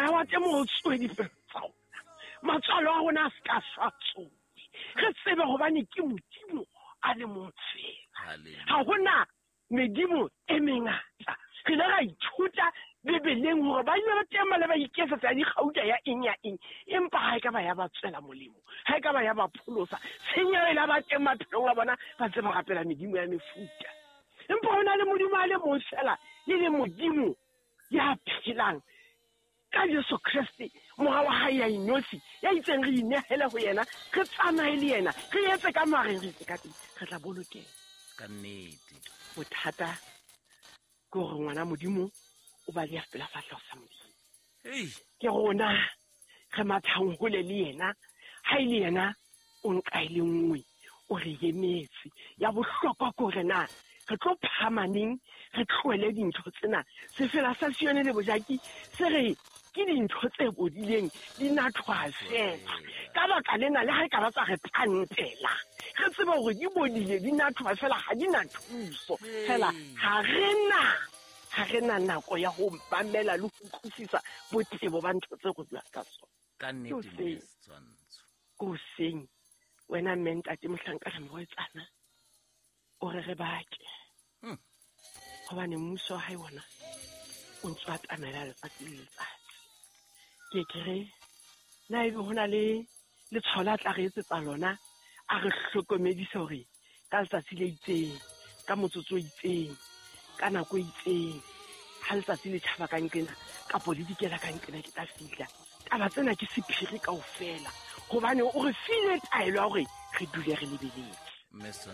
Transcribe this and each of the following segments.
Moya wa temo o tsoe dipelo tsa rona, matswalo a rona a se ka shwa tsoe, re tsebe hobane ke Modimo a le mong fela, ha hona medimo e mengata. Re ile ra ithuta Bibeleng hore ba ile ba teng ba le ba iketsetsa ya dikgauta ya eng ya eng, empa ha e ka ba ya ba tswela molemo, ha e ka ba ya ba pholosa. Tshenyo e la ba teng maphelong a bona, ba ntse ba rapela medimo ya mefuta. Empa ho na le Modimo a le mong fela, e leng Modimo ya phelang ka Jesu Kreste, Mora wa hae ya inotshi, ya itseng re inehele ho yena, re tsamaye le yena, re etse ka mareng, re etse ka teng, re tla bolokeha. Ka nnete. Bothata ke hore ngwana Modimo o baleha pela fahleho sa Modimo. Ke rona re mathang hole le yena, ha e le yena o nka e le nngwe, o re emetse. Ya bohlokwa ke hore na re tlo phahama neng, re tlohele dintho tsena. Sefela sa Sione le bojaki se re ke dintho tse bodileng, di nathwa fela. Ka baka lena, le ha e ka ba tsa re pantela, re tsebe hore di bodile, di nathwa fela, ha di na thuso. Fela ha re na nako ya ho mamela le ho utlwisisa botebo ba ntho tse re buang ka tsona. Ka nnete, mme Setshwantsho. Ke hoseng, wena mme ntate mohlanka re morwetsana, o re re bake. Hobane mmuso wa hae wona o ntse o atamela letsatsi le letsatsi. Ke ke re, na ebe ho na le letshwao la tla re etsetsa lona, a re hlokomedise hore ka letsatsi le itseng, ka motsotso o itseng, ka nako e itseng, ha letsatsi le tjhaba ka nqena, kapo le dikela ka nqena, ke tla fihla. Taba tsena ke sephiri kaofela, hobane o re file taelo ya hore re dule re lebeletse.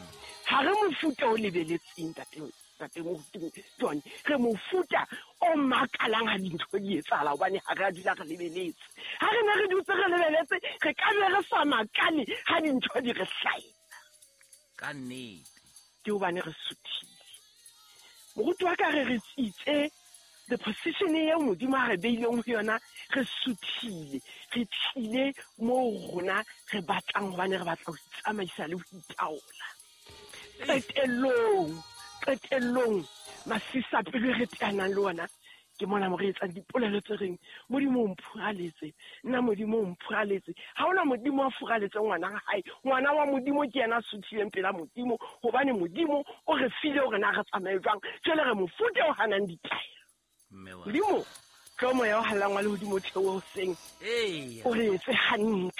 Ha re mofuta o lebeletseng, ntate Moruti John, re mofuta o makalang ha dintho di etsahala, hobane ha re a dula re lebeletse. Ha re ne re dutse re lebeletse, re ka be re sa makale ha dintho di re hlahela. Ka nnete. Ke hobane re suthile. Moruti wa ka re re tsitse the position eo Modimo a re beileng ho yona, re suthile, re tlile moo rona re batlang, hobane re batla ho itsamaisa le ho itaola. Qetellong, masisapelo e re teanang le ona, ke mona mo re etsang dipolelo tse reng, Modimo o mphuraletse, nna Modimo o mphuraletse. Ha hona Modimo a furaletse ngwana wa hae. Ngwana wa Modimo ke yena a suthileng pela Modimo, hobane Modimo o re file hore na re tsamaye jwang. Jwale re mofuta o hanang ditaelo. Modimo, tlo moya o hallang wa lehodimo o theohe hoseng. O re etse hantle,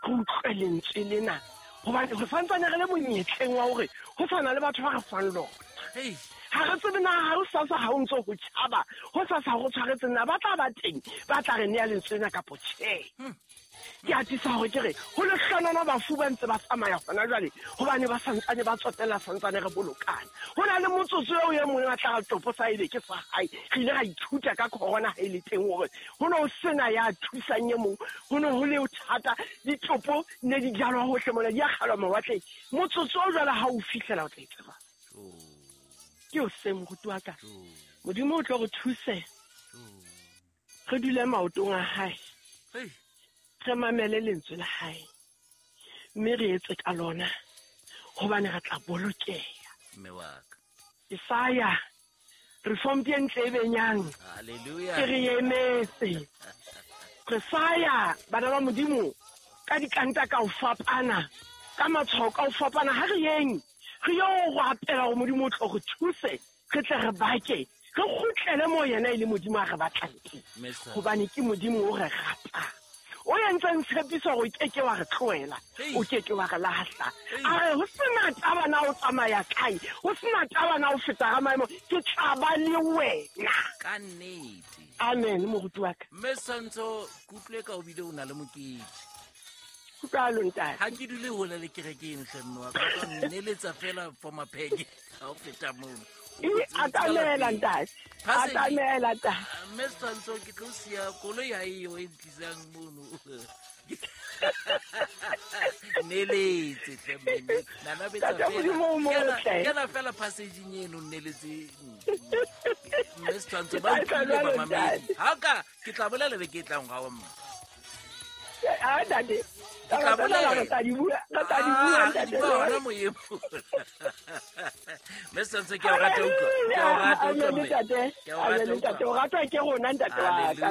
re utlwe lentswe lena, hobane re santsane re le monyetleng wa hore ho sa na le batho ba re fang lona. Ha re tsebe na ha ho sasa ha o ntso ho tjhaba, ho sasa ho tshwaretse na ba tla ba teng, ba tla re nea lentswe lena kapo tjhe. Ke atisa hore ke re, ho lehlonono bafu ba ntse ba tsamaya hona jwale, hobane ba santsane ba tsotella, santsane re bolokana. Ho na le motsotso eo e mong a tla re topo sa ebe ke sa hae. Re ile ra ithuta ka corona ha e le teng hore ho ne ho sena ya thusang e mong, ho ne ho le thata, ditopo ne di jalwa hohle mona, di akgelwa mawatleng. Motsotso o jwale ha o fihlela o tla etseba. Ke o se moruti wa ka. Modimo o tlo re thuse. Re dule maotong a hae. Re mamele lentswe la hae. Mme re etse ka lona, hobane re tla bolokeha. Mme wa ka. Isaya, reform ke ntle e benyang. Hallelujah. Ke re emetse. Re saya bana ba Modimo ka dikanta ka ho fapana, ka matshwao ka ho fapana. Ha re yeng, re yo rapela hore Modimo o tlo re thuse, re tle re bake, re kgutlele moo yena e le Modimo a re batlang teng. Hobane ke Modimo o re ratang. O entseng tshepiso hore o keke wa re tlohela, o keke wa re lahla. A re ho sena taba na o tsamaya kae, ho sena taba na o feta ga maemo, ke tla ba le wena. Ka nnete. Amen, moruti wa ka. Mme Setshwantsho, ke utlwile ka o bile o na le mokete. Kutlwalo, ntate. Ha ke dule hole le kereke eno, hle mme wa ka. O tla nneletsa fela for mapheke ha o feta mono. E, atamela, ntate. Atamela, ntate. Mme Setshwantsho, ke tlo siya koloi ha eyo e ntlisang mono. Neletse hle mme. Nana betsa Ntate Modimo o fela. motle. Kena fela passage-ing eno, nneletse. Mme Setshwantsho, ba Ke tla utlwile jwalo, bamamedi. ntate. Ha ka, ke tla bolela beke e tlang ga wa mma. Ah, ntate. Ke tla Taba tsena bolela. re tla di bua, re tla di bua, Ah, ntate. di bua hona moyeng. Mme Setshwantsho, ke a o rata utlwa. Ke a o rata utlwa, Amen, mme. ntate. Ke a o rata Amen, ntate. utlwa. O ratwa ke rona, ntate wa ka. Hallelujah.